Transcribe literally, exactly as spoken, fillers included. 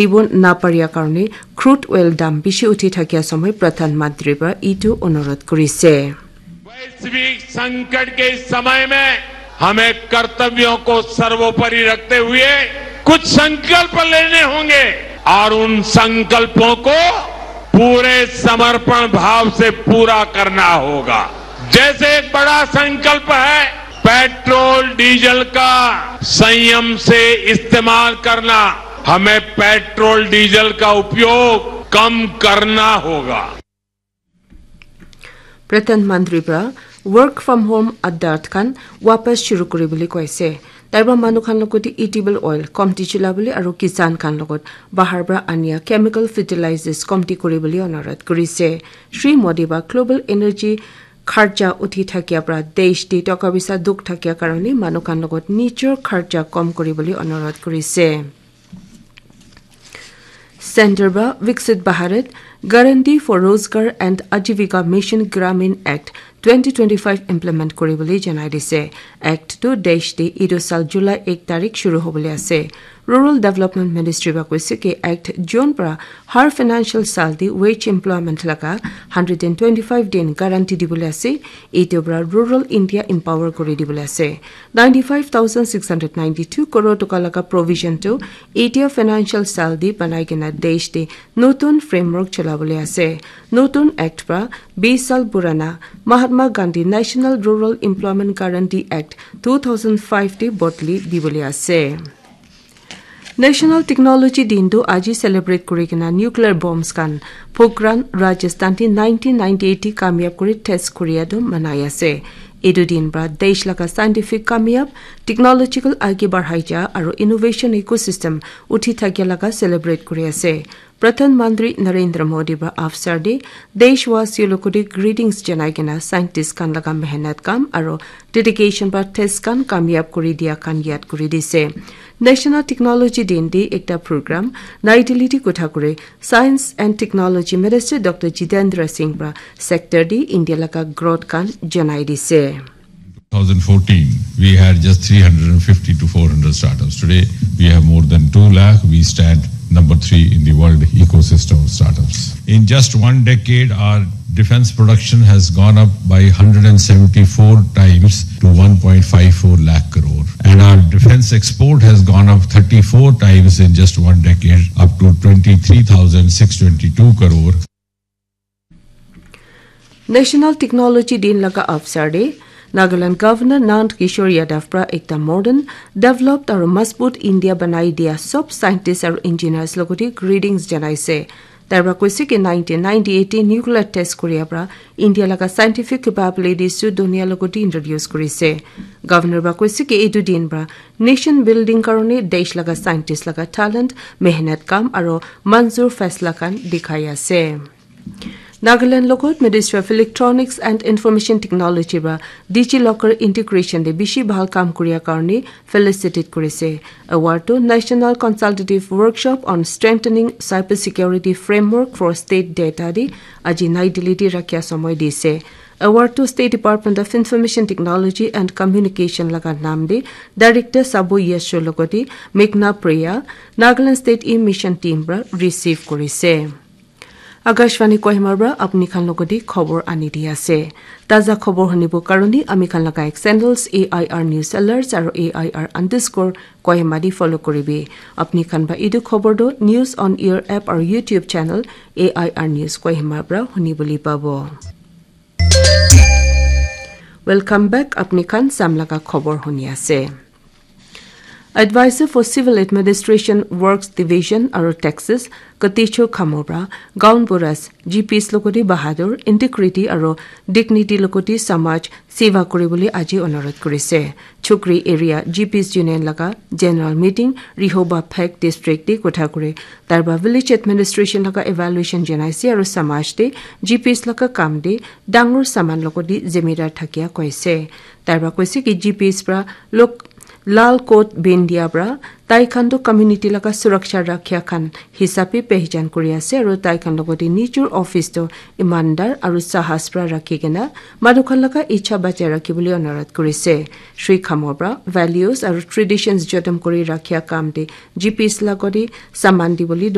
দিব নাপাৰিয়া কাৰণে ক্ৰুড অইল দাম বেছি উঠি থাকিয়া সময় প্ৰধানমন্ত্ৰী পৰা এইটো অনুৰোধ কৰিছে। वैश्विक संकट के इस समय में हमें कर्तव्यों को सर्वोपरि रखते हुए कुछ संकल्प लेने होंगे और उन संकल्पों को पूरे समर्पण भाव से पूरा करना होगा। जैसे एक बड़ा संकल्प है पेट्रोल डीजल का संयम से इस्तेमाल करना, हमें पेट्रोल डीजल का उपयोग कम करना होगा। Pradhan Mantri pra work from home adart khan wapas shuru kuri bole koise. Tai pra manu khan logot edible oil komti chula bole aru kisan khan logot bahar pra ania chemical fertilizers komti kuri bole onurodh korise. Shri Modi pra global energy kharcha uthi thakia pra desh te toka poisa dukh thakia karone manu khan logot nijor kharcha kom kuri bole onurodh korise. Center pra Viksit Bharat Guarantee for Rozgar and Ajivika Mission Gramin Act twenty twenty-five implement kuri bole janai dise. Act tu desh te etu sal July ek tarik shuru hobole ase. Rural Development Ministry pra koise ki Act June pra har financial sal te wage employment laga hundred and twenty-five din guarantee dibole ase. Etu pra rural India empower kuri dibole ase. Ninety-five thousand six hundred ninety-two crore toka laga provision tu etia financial sal te banai kena desh te notun framework cholabole ase. Notun act pra bish sal purana Mahatma Gandhi National Rural Employment Guarantee Act two thousand five te bodli dibole ase. National Technology Din tu aji celebrate kuri kena nuclear bombs khan Pokhran, Rajasthan te nineteen ninety-eight te kamyab kuri test kuria tu manai ase. Etu din pra desh laga scientific kamyab, technological age barhai ja aru innovation ecosystem uthi thakia laga celebrate kuri ase. Pradhan Mantri Narendra Modi pra afsar te deshwasi logot te greetings janai kena scientist khan laga mehnat kam aru dedication pra test khan kamyab kuri dia khan yad kuri dise. National Technology Din te ekta program Nai Delhi te kotha kuri Science and Technology Minister Doctor Jitendra Singh pra sector te India laga growth khan janai dise. two thousand fourteen, we had just three hundred fifty to four hundred startups. Today, we have more than two lakh. We stand number three in the world ecosystem of startups. In just one decade, our defense production has gone up by hundred and seventy-four times to one point five four lakh crore. And our defense export has gone up thirty-four times in just one decade, up to twenty-three thousand six twenty-two crore. National Technology Din laga avsar te Nagaland Governor Nand Kishore Yadav pra ekta modern, developed aru mazbut India banai dia sob scientist aru engineers logot te greetings janaise. Tai pra koise ki nineteen ninety-eight te nuclear test kuria pra India laga scientific capabilities tu dunia logot te introduce kurise. Governor pra koise ki etu din pra nation building karone desh laga scientist laga talent, mehnat kam aru manzur faisla khan dikhai ase. Nagaland logot Ministry of Electronics and Information Technology pra DigiLocker integration te bishi bhal kam kuria karone felicitate kurise. Award tu National Consultative Workshop on Strengthening Cybersecurity Framework for State Data te aji Nai Delhi te rakhia samoi dise. Award tu State Department of Information Technology and Communication laga nam te Director Sabo Yesho logot te Meghna Priya, Nagaland State E-Mission team pra receive kurise. Akashvani Kohima pra apni khan logot te khobor ani di ase. Taza khobor hunibo karone ami khan laga X handles A I R News Alerts aru A I R underscore Kohima te follow kuribi. Apni khan ba etu khobor tu News on Air app aru YouTube channel A I R News Kohima pra huni bole pabo. Welcome back. Apni khan sam laga khobor huni ase. Advisor for Civil Administration Works Division aru Taxes, Katecho Khamora, Gaon Buras, G Ps logot te bahadur, integrity aru dignity logot te samaj seva kuri bole aji onurodh kurise. Chukri Area G Ps Union laga General Meeting, Rehoboth Phek District te kotha kuri. Tai pra Village Administration laga evaluation janaise aru samaj te G Ps laga kam te dangor saman logot te zimedar thakia koise. Tai pra koise ki G Ps pra lok Lal coat bindia pra tai khan toh community laga suraksha rakhia khan hisabe pehchan kuri ase aru tai khan logate nijor office toh imandar aru sahas pra rakhi kena manu khan laga ichha bachai rakhi bole anurodh kuri se. Shri Khamor pra values aru traditions jotom kuri rakhia kam te G Ps logate saman di bole